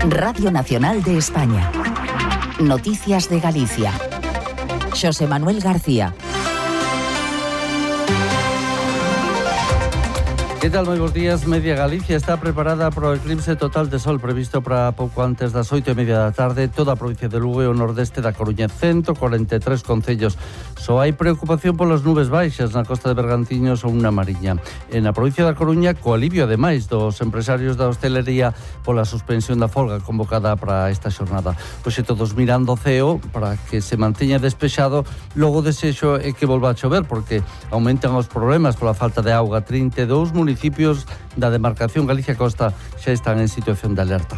Radio Nacional de España. Noticias de Galicia. Xosé Manuel García. Que tal, moi bons días. Media Galicia está preparada para o eclipse total de sol previsto para pouco antes das 8:30 da tarde. Toda a provincia de Lugo e o nordeste da Coruña, 143 concellos. Só hai preocupación polas nubes baixas na costa de Bergantiños ou na Mariña. En a provincia da Coruña, co alivio ademais dos empresarios da hostelería pola suspensión da folga convocada para esta xornada. Pois todos mirando o ceo para que se manteña despexado. Logo desexo é que volva a chover porque aumentan os problemas pola falta de auga. 32 municipios da demarcación Galicia Costa xa están en situación de alerta.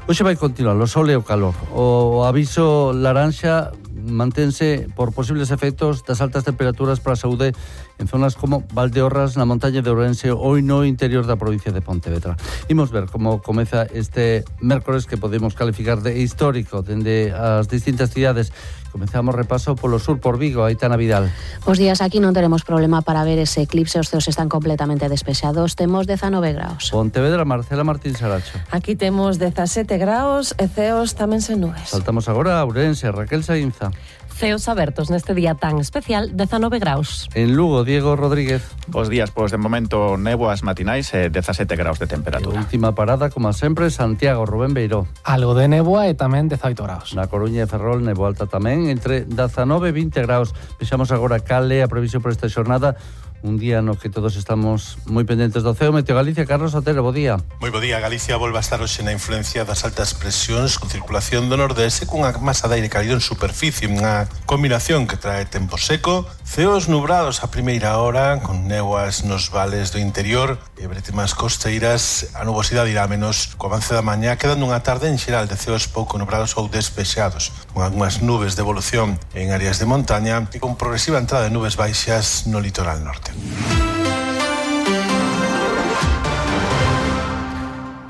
Hoxe vai continuar o sol e o calor. O aviso laranxa mantense por posibles efectos das altas temperaturas para a saúde en zonas como Valdeorras, na montaña de Ourense ou no interior da provincia de Pontevedra. Imos ver como comeza este mércores que podemos calificar de histórico dende as distintas cidades. Comenzamos repaso polo sur por Vigo, Aitana Vidal. Bos días, aquí non teremos problema para ver ese eclipse, os ceos están completamente despexados, temos 19 graus. Pontevedra, Marcela Martín Saracho. Aquí temos 17 graus e ceos tamén sen nubes. Saltamos agora a Ourense, Raquel Sainza. Ceos abertos neste día tan especial, 19 graus. En Lugo, Diego Rodríguez. Bos días, pois de momento néboas matinais e 17 graus de temperatura. Última parada, como sempre, Santiago, Rubén Beiró. Algo de néboa e tamén 18 graus. Na Coruña e Ferrol, néboa alta tamén, entre 19 e 20 graus. Vexamos agora cal é a previsión por esta xornada. Un día no que todos estamos moi pendentes do ceo. Meteo Galicia, Carlos Otero, bo día. Moi bo día. Galicia volve a estar hoxe na influencia das altas presións con circulación do nordeste cunha masa de aire cálido en superficie, unha combinación que trae tempo seco, ceos nubrados a primeira hora con néboas nos vales do interior e bretemas costeiras. A nubosidade irá menos co avance da mañá, quedando unha tarde en xeral de ceos pouco nubrados ou despexados, con algunhas nubes de evolución en áreas de montaña e con progresiva entrada de nubes baixas no litoral norte.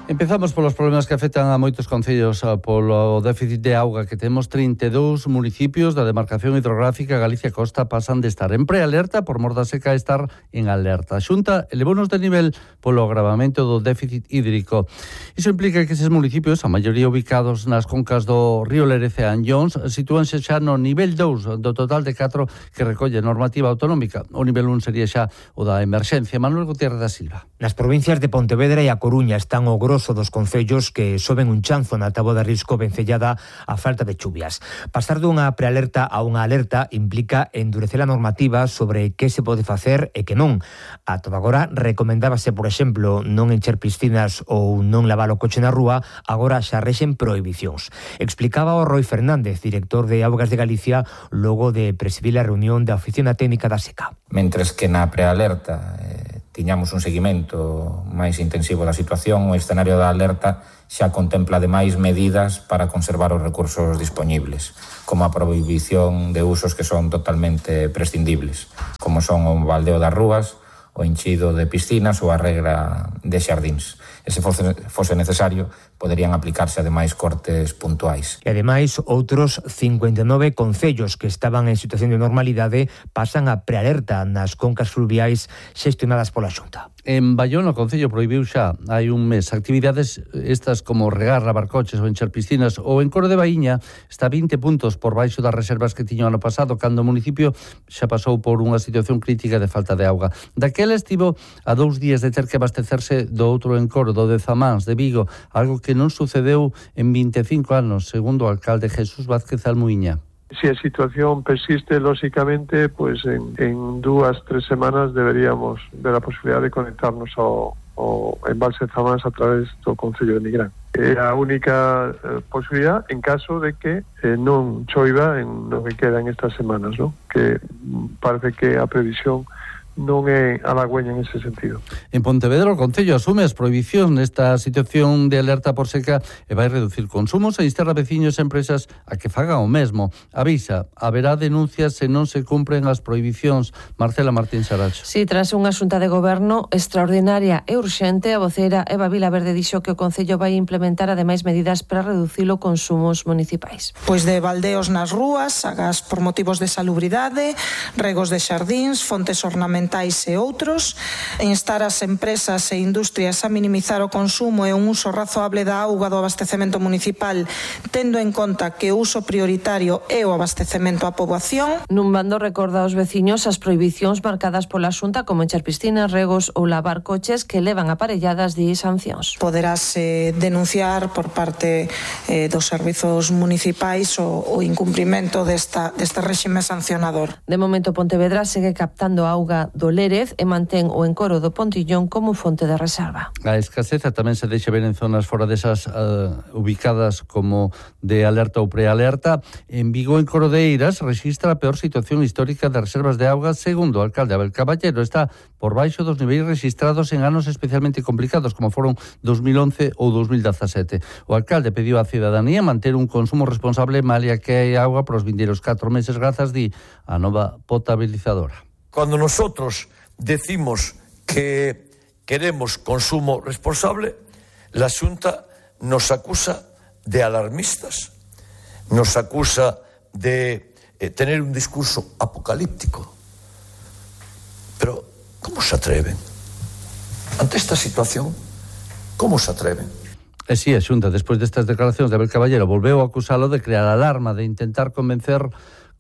Empezamos polos problemas que afectan a moitos concellos polo déficit de auga que temos. 32 municipios da demarcación hidrográfica Galicia Costa pasan de estar en prealerta por mor da seca a estar en alerta. A Xunta elevounos de nivel polo agravamento do déficit hídrico. Iso implica que eses municipios, a maioría ubicados nas concas do río Lerece e Anllóns, sitúanse xa no nivel 2 do total de 4 que recolle normativa autonómica. O nivel 1 sería xa o da emerxencia. Manuel Gutiérrez da Silva. Nas provincias de Pontevedra e A Coruña están o grosso dos concellos que soben un chanzo na táboa de risco vencellada á falta de chuvias. Pasar dunha prealerta a unha alerta implica endurecer a normativa sobre que se pode facer e que non. A todo agora recomendábase, por exemplo, non encher piscinas ou non lavar o coche na rúa, agora xa rexen prohibicións. Explicaba o Roi Fernández, director de Augas de Galicia, logo de presidir a reunión da Oficina Técnica da Seca. Mentres que na prealerta tiñamos un seguimento máis intensivo da situación, o escenario da alerta xa contempla ademais medidas para conservar os recursos dispoñibles, como a prohibición de usos que son totalmente prescindibles, como son o baldeo das rúas, o enchido de piscinas ou a regra de xardíns. E se fose necesario, poderían aplicarse ademais cortes puntuais. E ademais, outros 59 concellos que estaban en situación de normalidade pasan a prealerta nas concas fluviais xestionadas pola Xunta. En Bayona, o Concello prohibiu xa hai un mes actividades estas como regar, lavar coches ou encher piscinas, ou en Coro de Baíña está 20 puntos por baixo das reservas que tiño ano pasado, cando o municipio xa pasou por unha situación crítica de falta de auga. Daquela estivo a 2 días de ter que abastecerse do outro encoro, do de Zamáns, de Vigo, algo que non sucedeu en 25 anos, segundo o alcalde Jesús Vázquez Almuíña. Si a situación persiste, lógicamente, pues en 2-3 semanas deberíamos ver a posibilidad de conectarnos ao embalse Zamáns a través do Concello de Nigrán. É a única posibilidad en caso de que non choiva en lo que quedan estas semanas, ¿no? Que parece que a previsión non é halagüeña en ese sentido. En Pontevedra, o Concello asume as prohibicións nesta situación de alerta por seca e vai reducir consumos e instar a veciños e empresas a que fagan o mesmo. Avisa, haberá denuncias se non se cumpren as prohibicións. Marcela Martín Saracho. Si, tras unha xunta de goberno extraordinaria e urxente, a voceira Eva Vilaverde dixo que o Concello vai implementar ademais medidas para reducir os consumos municipais. Pois de baldeos nas rúas, sagas por motivos de salubridade, regos de xardíns, fontes ornamentales ambientais e outros, instar as empresas e industrias a minimizar o consumo e un uso razoable da auga do abastecemento municipal, tendo en conta que o uso prioritario é o abastecemento á poboación. Nun bando recorda aos veciños as prohibicións marcadas pola Xunta, como encher piscinas, regos ou lavar coches, que levan aparelladas de sancións. Poderase denunciar por parte dos servizos municipais o incumprimento deste réxime sancionador. De momento, Pontevedra segue captando auga do Lérez e mantén o encoro do Pontillón como fonte de reserva. A escaseza tamén se deixa ver en zonas fora desas ubicadas como de alerta ou prealerta. En Vigo, en Corodeiras, registra a peor situación histórica de reservas de auga, segundo o alcalde Abel Caballero. Está por baixo dos niveis registrados en anos especialmente complicados, como foron 2011 ou 2017. O alcalde pediu á cidadanía manter un consumo responsable malia que hai auga para os vindeiros 4 meses grazas di a nova potabilizadora. Cuando nosotros decimos que queremos consumo responsable, la Xunta nos acusa de alarmistas, nos acusa de tener un discurso apocalíptico. Pero, ¿cómo se atreven? Ante esta situación, ¿cómo se atreven? E si, a Xunta, despois destas declaracións de Abel Caballero, volveu a acusalo de crear alarma, de intentar converter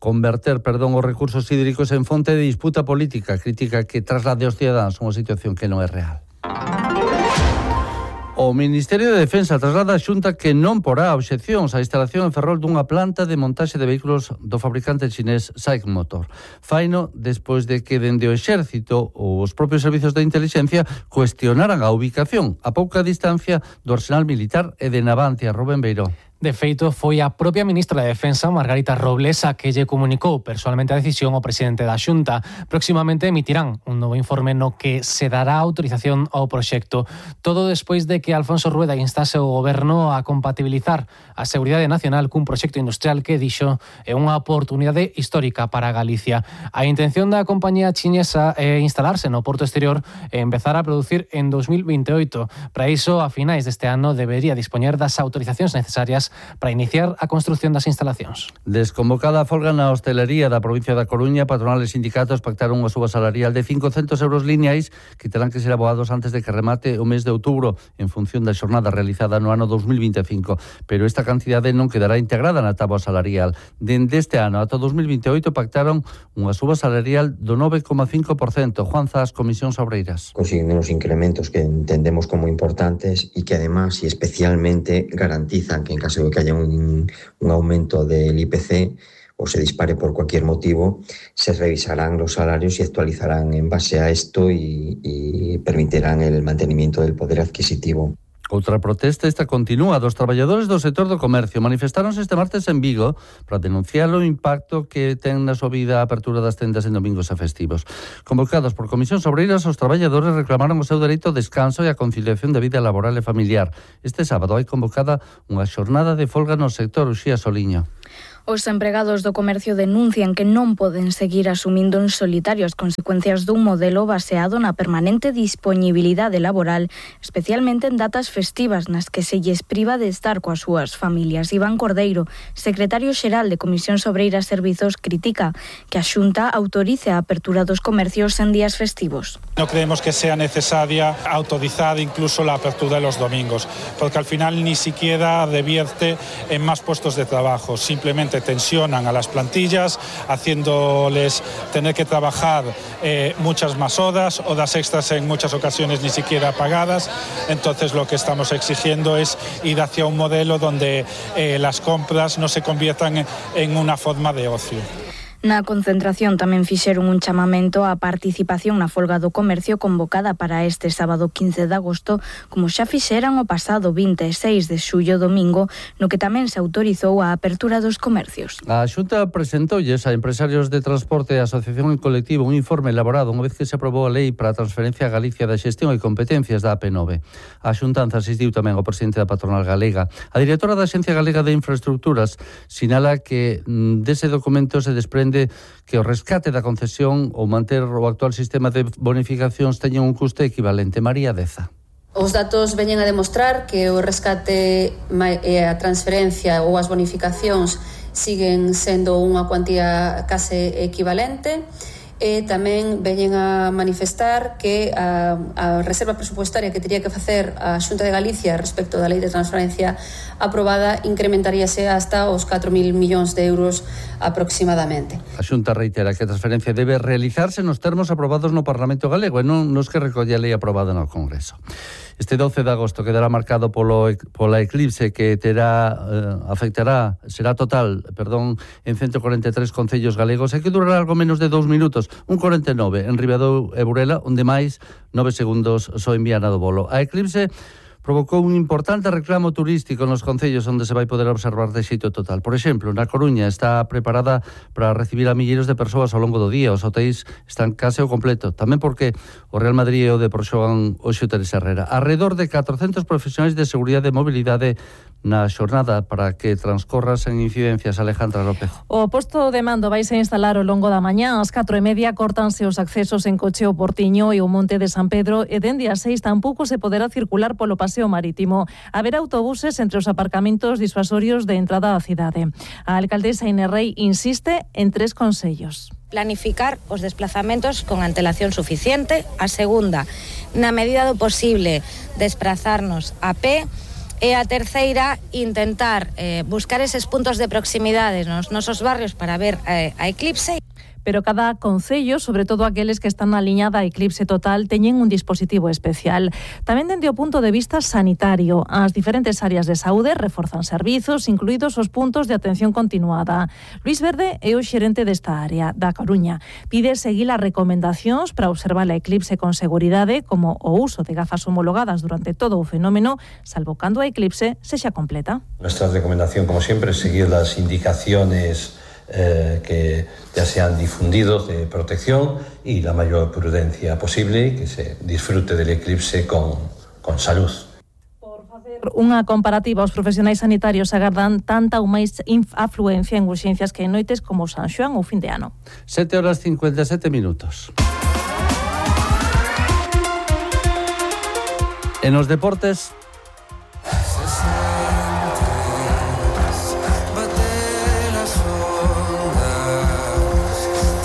os recursos hídricos en fonte de disputa política, crítica que traslade aos cidadáns unha situación que non é real. O Ministerio de Defensa traslada a Xunta que non porá obxeccións á instalación en Ferrol dunha planta de montaxe de vehículos do fabricante chinés SAIC Motor. Faino despois de que dende o Exército ou os propios servizos de inteligencia cuestionaran a ubicación a pouca distancia do arsenal militar e de Navancia. Rubén Beiró. De feito, foi a propia ministra de Defensa, Margarita Robles, a que lle comunicou personalmente a decisión ao presidente da Xunta. Próximamente emitirán un novo informe no que se dará autorización ao proxecto. Todo despois de que Alfonso Rueda instase o goberno a compatibilizar a seguridade nacional cun proxecto industrial que, dixo, é unha oportunidade histórica para Galicia. A intención da compañía chinesa é instalarse no porto exterior e empezar a producir en 2028. Para iso, a finais deste ano, debería dispoñer das autorizacións necesarias para iniciar a construción das instalacións. Desconvocada a folga na hostelería da provincia da Coruña, patronal e sindicatos pactaron unha suba salarial de 500 euros lineais que terán que ser abogados antes de que remate o mes de outubro en función da xornada realizada no ano 2025. Pero esta cantidade non quedará integrada na táboa salarial. Dende este ano ata 2028 pactaron unha suba salarial do 9,5%. Juan Zas, Comisións Obreiras. Consiguen unos incrementos que entendemos como importantes y que además y especialmente garantizan que en caso de que haya un aumento del IPC o se dispare por cualquier motivo, se revisarán los salarios y actualizarán en base a esto y permitirán el mantenimiento del poder adquisitivo. Outra protesta esta continúa dos traballadores do sector do comercio. Manifestáronse este martes en Vigo para denunciar o impacto que ten na súa vida a apertura das tendas en domingos e festivos. Convocados por Comisións Obreiras, os traballadores reclamaron o seu dereito ao descanso e a conciliación da vida laboral e familiar. Este sábado hai convocada unha xornada de folga no sector. Uxía Soliño. Os empregados do comercio denuncian que non poden seguir asumindo en solitario as consecuencias dun modelo baseado na permanente dispoñibilidade laboral, especialmente en datas festivas nas que se lles priva de estar coas súas familias. Iván Cordeiro, secretario xeral de Comisións Obreiras Servizos, critica que a Xunta autorice a apertura dos comercios en días festivos. No creemos que sea necesaria autorizar incluso la apertura de los domingos, porque al final ni siquiera revierte en más puestos de trabajo, simplemente tensionan a las plantillas, haciéndoles tener que trabajar muchas más horas extras en muchas ocasiones ni siquiera pagadas. Entonces lo que estamos exigiendo es ir hacia un modelo donde las compras no se conviertan en una forma de ocio. Na concentración tamén fixeron un chamamento á participación na folga do comercio convocada para este sábado 15 de agosto, como xa fixeran o pasado 26 de xullo domingo, no que tamén se autorizou a apertura dos comercios. A Xunta presentoulles a empresarios de transporte e asociación en colectivo un informe elaborado unha vez que se aprobou a lei para a transferencia a Galicia da xestión e competencias da AP9. A xuntanza asistiu tamén o presidente da patronal galega. A directora da Axencia Galega de Infraestructuras sinala que dese documento se desprende que o rescate da concesión ou manter o actual sistema de bonificacións teñen un custe equivalente. María Deza. Os datos veñen a demostrar que o rescate e a transferencia ou as bonificacións siguen sendo unha cuantía case equivalente e tamén veñen a manifestar que a reserva presupuestaria que teria que facer a Xunta de Galicia respecto da Lei de Transparencia aprobada incrementaríase hasta os 4.000 millóns de euros aproximadamente. A Xunta reitera que a transferencia debe realizarse nos termos aprobados no Parlamento Galego e non nos que recolle a lei aprobada no Congreso. Este 12 de agosto quedará marcado pola eclipse que será total en 143 concellos galegos e que durará algo menos de 2 minutos, un 49 en Ribadeo e Burela, onde máis 9 segundos só envían do bolo. A eclipse provocou un importante reclamo turístico nos concellos onde se vai poder observar de xeito total. Por exemplo, na Coruña está preparada para recibir a milleiros de persoas ao longo do día. Os hotéis están case ao completo. Tamén porque o Real Madrid e o Depor xogan hoxe o Teresa Herrera. Arredor de 400 profesionais de seguridade e mobilidade na xornada para que transcorra sen incidencias. Alejandra López. O posto de mando vaise instalar ao longo da mañá. Ás 4:30 córtanse os accesos en coche ao Portiño e o Monte de San Pedro e dende as 6 tampouco se poderá circular polo paseo marítimo. Haberá autobuses entre os aparcamentos disuasorios de entrada á cidade. A alcaldesa Inés Rei insiste en 3 consellos. Planificar os desplazamentos con antelación suficiente. A segunda, na medida do posible, desprazarnos a pé. E a terceira, intentar buscar eses puntos de proximidade nos nosos barrios para ver a eclipse. Pero cada concello, sobre todo aqueles que están na liña da eclipse total, teñen un dispositivo especial. Tamén dende o punto de vista sanitario, as diferentes áreas de saúde reforzan servizos, incluídos os puntos de atención continuada. Luis Verde é o xerente desta área, da Coruña. Pide seguir as recomendacións para observar a eclipse con seguridade, como o uso de gafas homologadas durante todo o fenómeno, salvo cando a eclipse sexa completa. Nuestra recomendación, como siempre, es seguir las indicaciones que ya se han difundido de protección y la mayor prudencia posible y que se disfrute del eclipse con salud. Por facer unha comparativa, os profesionais sanitarios agardan tanta ou máis afluencia en urxencias que en noites como San Xoán ou fin de ano. 7:57. En os deportes,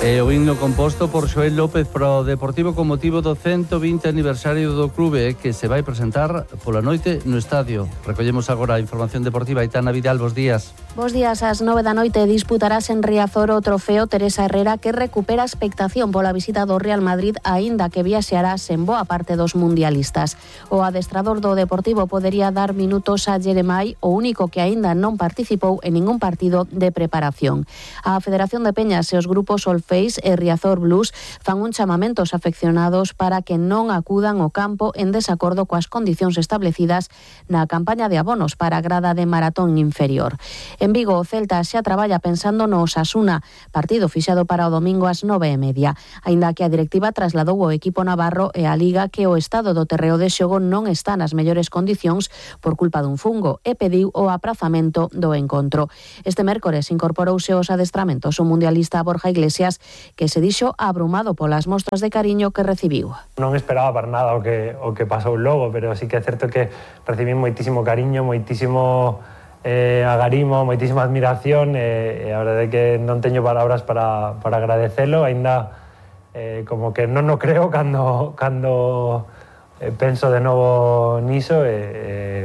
e o himno composto por Xoel López para o Deportivo con motivo do 120 aniversario do clube que se vai presentar pola noite no estadio. Recollemos agora a información deportiva. Aitana Vidal, bos días. Bos días, ás 9 da noite disputarás en Riazor o trofeo Teresa Herrera que recupera expectación pola visita do Real Madrid aínda que viaxeará sen boa parte dos mundialistas. O adestrador do Deportivo podería dar minutos a Jeremai, o único que aínda non participou en ningún partido de preparación. A Federación de Peñas e os grupos Face e Riazor Blues fan un chamamento aos afeccionados para que non acudan ao campo en desacordo coas condicións establecidas na campaña de abonos para a grada de maratón inferior. En Vigo, o Celta xa traballa pensando no Osasuna, partido fixado para o domingo ás 9:30, aínda que a directiva trasladou ao equipo navarro e a Liga que o estado do terreo de xogo non está nas mellores condicións por culpa dun fungo e pediu o aprazamento do encontro. Este mércores incorporouse aos adestramentos o mundialista Borja Iglesias, que se dixo abrumado polas mostras de cariño que recibiu. Non esperaba para nada o que pasou logo, pero sí que é certo que recibí moitísimo cariño, moitísimo agarimo, moitísima admiración e a verdade é que non teño palabras para agradecelo, aínda como que non o creo cando penso de novo niso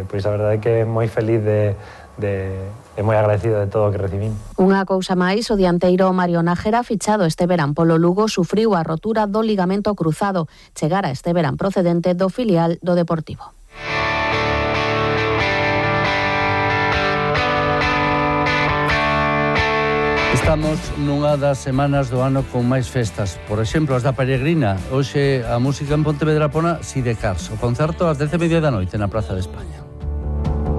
pois a verdade é que moi feliz e moi agradecido de todo o que recibín. Unha cousa máis, o dianteiro Mario Nájera, fichado este verán polo Lugo, sufriu a rotura do ligamento cruzado. Chegara este verán procedente do filial do Deportivo. Estamos nunha das semanas do ano con máis festas. Por exemplo, as da Peregrina. Hoxe a música en Pontevedra pona Sidecars. O concerto ás 10:30 da noite na Praza de España.